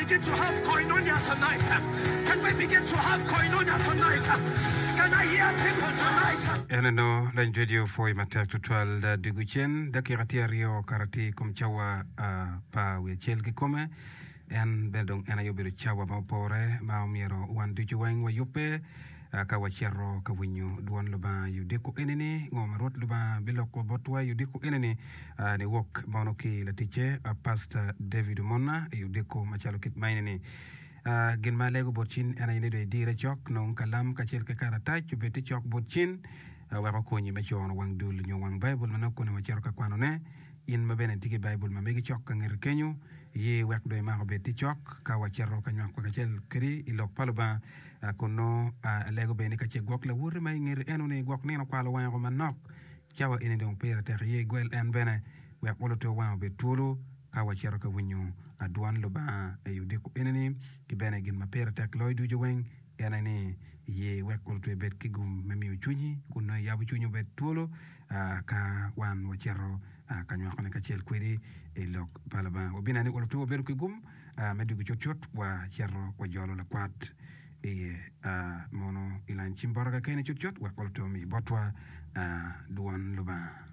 begin to have koinonia tonight? Can we begin to have koinonia tonight? Can I hear people tonight? En eno lany radio pwoy matek tutwal dwogo cen dakika tye aryo kara tye i kom cawa pa wiye acel kikome. En bene dong en aye obedo cawa ma opore ma omyero wan ducu weng wayubbe ka wacito ka winyo dwon Lubanga i odiko eni-ni. Ngo ma Rwot Lubanga biloko botwa i odiko eni-ni? Niwok mono ki laticce Pastor David Omona i odiko macalo kit ma eni-ni. Gin ma alego bot cin en aye ni dong idire cok, nong kalam kacel ki karatac obed tye cok bot cin wek okonyi me cono wang dul nyo wang Baibul ma nongo koni wacito ka kwanone. In ma bene itye ki Baibul ma megi cok ka ngeti kenyo, ye wek dong imak obed tye cok ka wacito ka nywako kacel kwedi i Lok pa Lubanga. Kun nongo alego bene ni ka ce gwok lawoti ma i ngeti eno-ni gwok nino okwalo wange woko manok, cawa eni dong pire tek iye igwel en bene wek oluto wange obed twolo ka wacito ka winyo dwan Lubanga i odiko eni-ni. Ki bene gin ma pire tek loyo ducu weng en aye ni ye wek oluto ibed ki gum me miyo cwinyi kun nongo iyabo cwinyi obed twolo ka wan wacito ka nywakone kacel kwedi i lok pa Lubanga. Wabineno ni oluto wabedo ki gum me dwogo cutcut wacito wajolo lakwat i mono i lany cim bota kakene cutcut wek oluto omi botwa dwon Lubanga.